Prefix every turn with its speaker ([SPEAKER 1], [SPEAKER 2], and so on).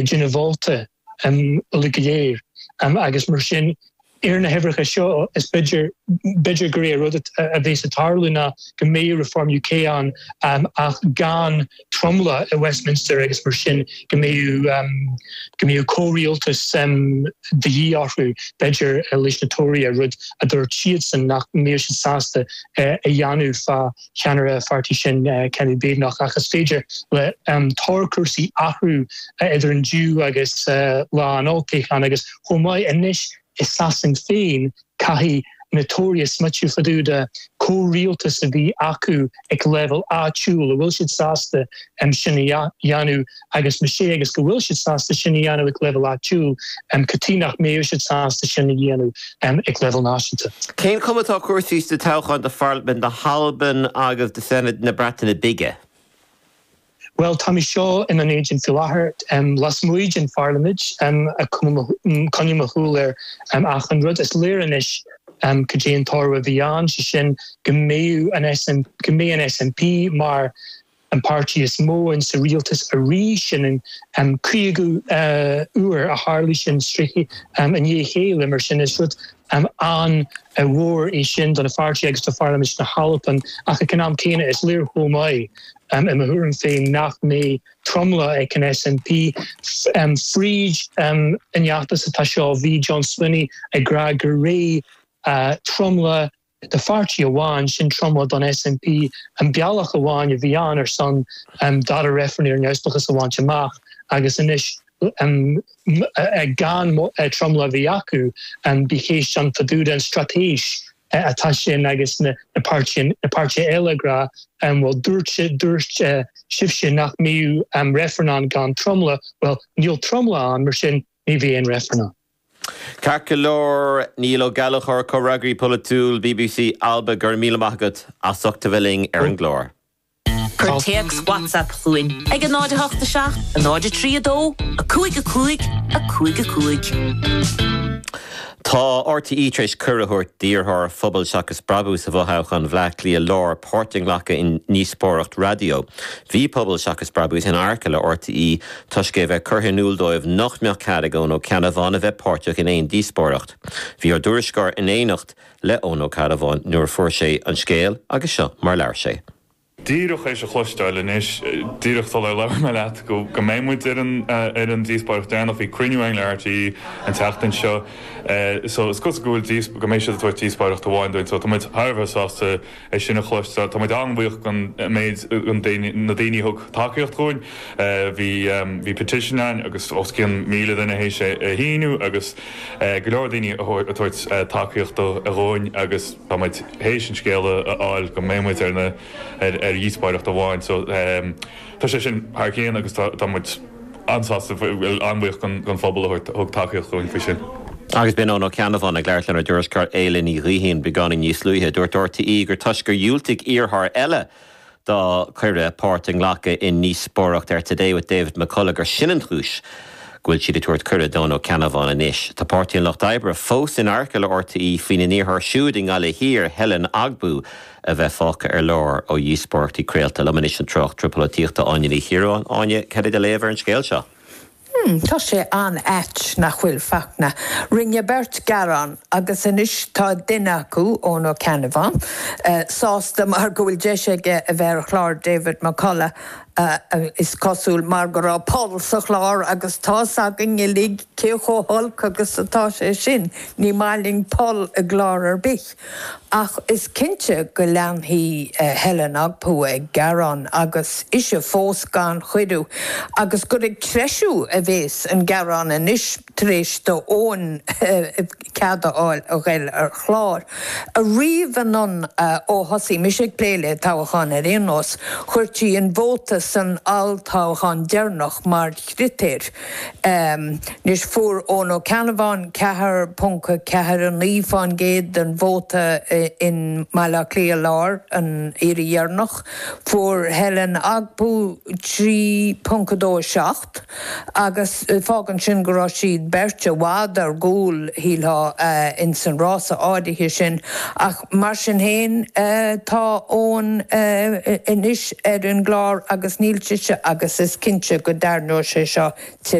[SPEAKER 1] déanamh vóta uilig go léir agus mar sin ar na huimhreacha seo is b'fhéidir b'fhéidir gur é an rud a bheas ag tarlú ná go mbeidh Reform UK ann ach gan tromlach i Westminster agus mar sin go mbeidh go mbeidh comhrialtas de dhíth orthu b'fhéidir leis na Tóraithe, rud a dúirt siadsan nach mbeadh siad sásta a dhéanamh fá cheannaire an pháirtí sin, Kemi Badenoch, ach is féidir le toghchúrsaí athrú idir inniu agus lá an olltoghcháin agus chomh maith anois i Sasain féin caithfidh na Tóraithe smaoitiú fá dtaobh de comhrialtas a bhí acu ag leibhéal áitiúil, an bhfuil siad sásta sin a dhéanamh agus más ea agus go bhfuil siad sásta sin a dhéanamh ag leibhéal áitiúil, cad chuige nach mbeadh siad sásta sin a dhéanamh ag leibhéal náisiúnta?
[SPEAKER 2] Cén chuma atá cúrsaí sna toghcháin do Pharlaimint na hAlban agus do Senedd na Breataine Bige?
[SPEAKER 1] Bhuel, tá mé seo i nDún Éideann faoi láthair, lasmuigh den Pharlaimint, ag coinneáil mo shúil ar achan rud. Is léir anois cad é an toradh a bhí ann, sé sin go mbeidh an go mbeidh an SNP mar an páirtí is mó in sa rialtas arís, sin an 50ú uair a tharlaigh sin i ndiaidh a chéile, mar sin is rud an-mhór é sin don pháirtí agus do Pharlaimint na hAlban ach ag an am céanna is léir chomh maith, i mo thuairim féin, nach mbeidh tromlach ag an SNP. Fríd an fheachtas atá seo bhí John Swinney ag rá gur é tromlach do pháirtí amháin, sin tromlach don SNP, an bealach amháin a bhí ann ar son dara reifreann ar neamhspleáchas a bhaint amach agus anois gan tromlach a bheith acu, bhí ceist ann fá dtaobh den straitéis atá sin agus na páirtithe eile ag rá bhuel dúirt dúirt sibhse nach mbeadh reifreann ann gan tromlach, bhuel níl tromlach ann mar sin ní bheidh aon reifreann ann.
[SPEAKER 2] Ceart go leor, Niall Ó Gallchóir, Comhfhreagraí Polaitiúil bbc Alba, go raibh míle maith agat as ucht a bheith linn ar an gclár.
[SPEAKER 3] Cuir téacs WhatsApp chugainn ag 0 8 7 0 3 2 5 5 5 5.
[SPEAKER 2] Tá RTÉ tar éis cuireadh a thabhairt d'iarrthóir Phobal Seachas Brabús i bhfothoghchán Bhaile Átha Cliath Láir páirt a nglacadh i ndíospóireacht raidió. Bhí Pobal Seachas Brabús in adharca le RTÉ toisc é a bheith curtha in iúl dóibh nach mbeadh cead ag Eoin Ó Ceannabháin a bheith páirteach in aon díospóireacht. Bhí ár dtuairisceoir in éineacht le Eoin Ó Ceannabháin nuair a fuair sé an scéal agus seo mar labhair sé.
[SPEAKER 4] Díreach théis a chloisteáil anois, díreach sular labhair mé leat, go mbeidh muid ar an ar an díospóireacht deireanach. Bhí cruinniú againn le RTÉ an tseachtain seo so is cosúil go bhfuil go mbeidh siad ag tabhairt díospóireacht amháin dúinn so tá muid thar a bheith sásta é sin a chloisteáil. Tá muid an-bhuíoch den méid na daoine a thug tacaíocht dhúinn. Bhí bhí petition ann agus os cionn 1,000 duine théis é a shíniú agus go leor daoine ag tabhairt tacaíocht dhúinn agus tá muid théis an scéala a fháil go mbeidh muid ar na ar ar dhíospóireacht amháin so tá sé sin thar cionn agus tá muid an-sásta, an-bhuíoch den phobal a thug tacaíocht dúinn faoi sin.
[SPEAKER 2] Agus b'in Eoin Ó Ceannabháin ag labhairt lenár dtuairisceoir Éile Ní Ghaoithín beagáinín níos luaithe. Dúirt RTÉ gur toisc gur dhiúltaigh iarrthóir eile dá cuireadh páirt a nglacadh i ndíospóireacht ar Today with David McCullough gur sin an chúis go bhfuil siad ag tabhairt cuireadh d'Eoin Ó Ceannabháin anois. Tá Páirtí an Lucht Oibre fós in adharca le RTÉ faoina n-iarrthóir siúd i nGaillimh Thiar, Helen Ogbu, a bheith fágtha ar lár ó dhíospóireachtaí craolta. Liom anois an tráchtaire polaitíochta Áine Ní Chiaráin. Áine, cad é do léamh ar an scéal seo?
[SPEAKER 5] Hmm, tá sé an-ait, nach bhfuil, Fachtna? Rinne beirt gearán agus anois tá duine acu, Eoin Ó Ceannabháin, sásta mar go bhfuil deis aige a bheith ar chlár David McCullough, is cosúil, mar go raibh poll sa chlár agus tá's againn uilig cé chomh holc agus atá sé sin, ní maith linn poll i gclár ar bith. Ach is cinnte go leanfaidh Helen Ogbu ag gearán agus ise fós gan chuireadh, agus gur ag treisiú a bhéas an gearán anois tar éis do Eoin cead a fháil a ghoil ar chlár. Ariamh anonn ó thosaigh mise ag plé le toghcháin ar aon nós, chuirtí an vóta san olltoghchán deireanach mar chritéir. Anois, fuair Eoin Ó Ceannabháin 4.49% den vóta in mBaile Átha Cliath Láir an iarraidh dheireanach. Fuair Helen Ogbu 3.27 agus fágann sin go raibh siad beirt i bhfad ar gcúl, shílfeá, ins an rása áirithe sin. Ach mar sin féin, tá Eoin anois ar an gclár agus níl sise agus is cinnte go dtarraingeoidh sé seo tuilleadh.